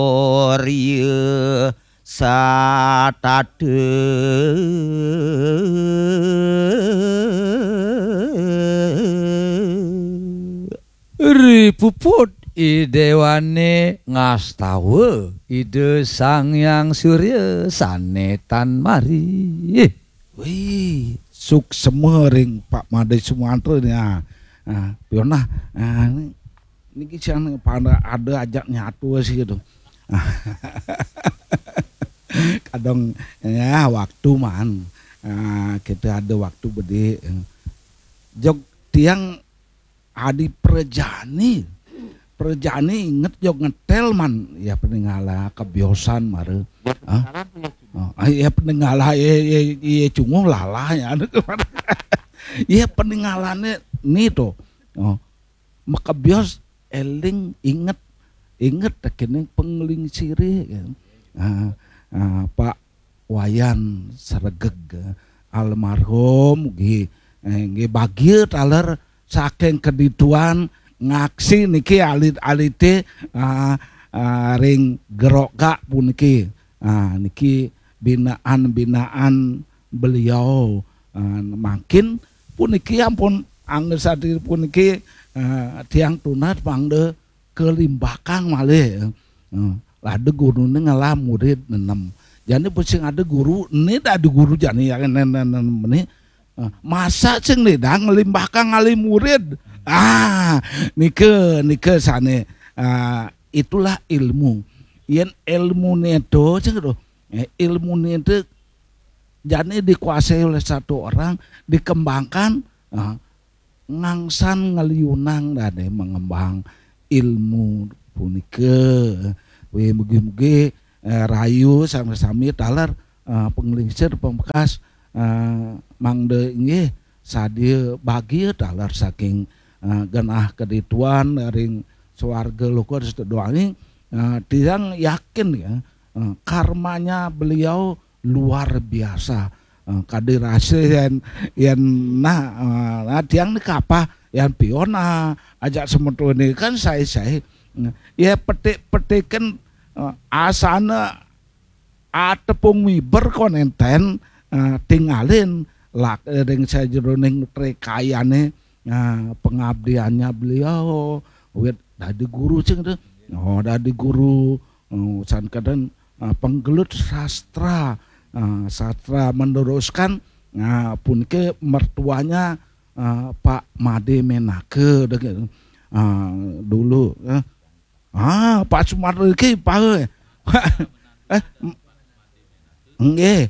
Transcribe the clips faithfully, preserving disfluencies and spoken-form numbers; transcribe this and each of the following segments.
Surya satata. Ripuput idewane ngastawa Ida Sang Hyang Surya sane tan mari. Wih, suksema ring Pak Made Sumantra nih. Ah, ah, Pionah, ah, ni- niki siang pada ada ajak nyatu sih gitu. Kadang ya waktu man. Ah, kita ada waktu bedi. Jog tiang adi prajani. Prajani inget jog ngetel man. Ya peningala kebiosan mara. Hah? Oh, ah, ya peningala ya, ya, ya cunguh lalah ya. Ya peningalane ni to. Oh, makebios eling inget, inget tekening penglingsire ya. Ah, ah, Pak Wayan Sregeg almarhum nggih, eh, nggih bagia taler saking kedituan ngaksi niki alit-alite, ah, ah, ring Gerogak puniki. Ah, niki binaan-binaan beliau. Ah, mangkin puniki ampun angger sadiri puniki, ah, tiang tunas mangda kalimbakang malih. Eh, ada gurune ngelah murid nenem. Jani sing ada guru, ini dah ada guru jani ya, nen, nen, nen, ini. Eh, masa sing nidang ngalimbakang ngalih murid? Ah, nika, nika sane. Ah, itulah ilmu. Yen ilmune to, sing to. Eh, ilmune to jani dikuasai oleh satu orang, dikembangkan, ah, ngangsan ngeliunang dane mengembang ilmu punika. We mugi-mugi, eh, rayu sami-sami taler, eh, penglingsir pamektas, eh, mangda inggih sadia bagia taler saking, eh, genah kedituan ring swarga loka sedoaning, eh, tiang yakin ya, eh, karmanya beliau luar biasa. Eh, kadi rasa yen, yen nah, eh, nah, tiang ni kapah, yen pion, ah, ajak semeton ni kan sai-sai. Nah, ya petik-petiken, eh, asana atepung miber kon enten, eh, tingalin lak ring sajeroning trekayane, eh, pengabdiannya beliau wit dadi guru sing tu. Oh, dadi guru, eh, san kaden, eh, penggelut sastra, eh, sastra meneruskan, eh, punike mertuanya, eh, Pak Made Menaka dek, eh, dulu, eh. Ah, Pak Sumardi ki pahe. Eh, m- nggih.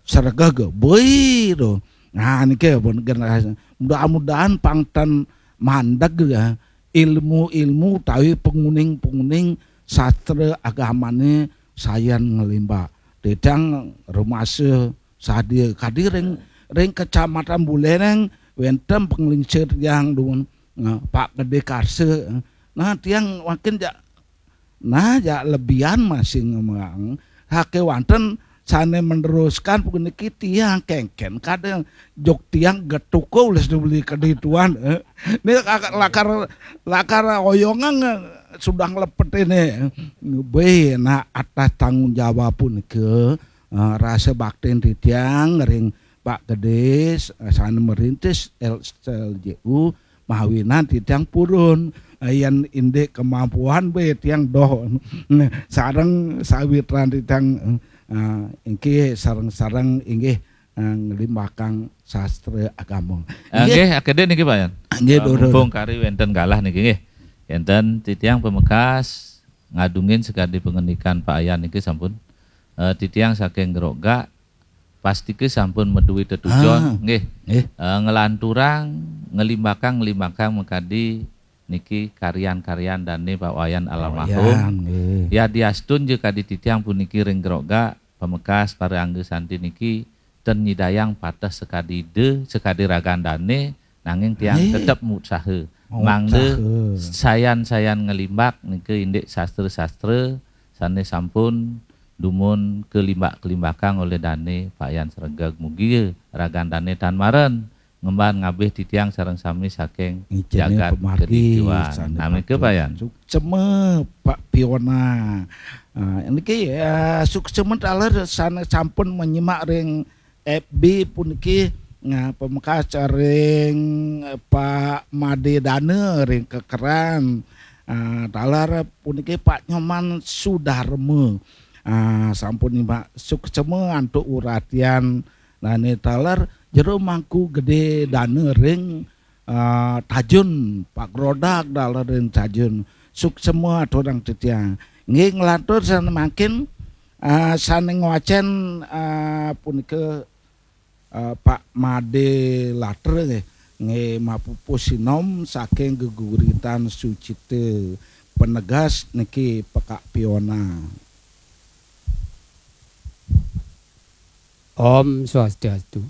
Sregeg, boi to. Nah, niki pun generasi. Mudah-mudahan pang ten mandeg ya. Ilmu-ilmu utawi penguning-penguning sastra agamane sayan ngelimbak. Titiang rumasa sadia kadi ring, ring Kecamatan Buleleng wenten penglingsir tiang dumun, nah, Pak Gede Karsa. Nah, tiang makin jak, nah, jak lebihan masih ngembang. Hake wanten sane meneruskan puniki tiang kengken kadang jog tiang getuka ulis dibeli kedituan. Eh. Ini lakar, lakar, lakar oyongan, eh, sudah lepet ini. Be, nah, atas tanggung jawab punika, eh, rasa baktin titiang ring Pak Gede, eh, sane merintis L S L J U, mawinan titiang purun. Eh, yen indik kemampuan be tiang doh. Sareng sawitran titiang, eh, inggih sareng-sareng inggih, eh, nglimbakang sastra agama. Eh, inggih. Nggih, akedin niki, Pak Yan. Nggih, eh, Doro. Mumpung kari wenten galah niki nggih. Enten titiang pamekas ngadungin sekadi pengendikan Pak Yan niki sampun. Eh, titiang saking Gerogak pastika sampun madué tetujon, ah, nggih. Nggih. Eh, nglanturang, ngelimbakang, ngelimbakang makadi niki karyan-karyan dane Pak Wayan almarhum. Wayan, nggih. Yadiastun ja kadi titiang puniki ring Gerogak, pamekas para angga santi niki ten nyidayang pateh sakadi ida, sakadi ragan dane, nanging tiang, nggih, tetep mutsaha. Mangda mutsaha. Sayan-sayan ngelimbak nika indik sastra-sastra sane sampun dumun kelimbak-kelimbakang oleh dane Pak Yan Sregeg. Mugi ragan dane tan maren ngemban ngabih titiang sareng sami saking Ijine jagat pemargi kedidiwan. Sane Nah, menika patut. Pak Yan. Suksema Pak Piona. Ah, niki, ah, suksema taler sane sampun menyimak ring F B puniki, nah, pamekas ring Pak Made Dana ring Kekeran. Ah, taler puniki Pak Nyoman Sudarma. Ah, sampun nyimak suksema antuk uratian. Nah, ne taler Jero Mangku Gede Dana ring ah, Tajun, Pak Grodak taler ring Tajun. Suksema aturang titiang. Nggih, nglantur sane mangkin, ah, sane ngwacen, ah, punika, ah, Pak Made Latra nggih. Nggih, mapupuh sinom saking geguritan Sucita. Penegas niki Pekak Piona. Om Swastiastu.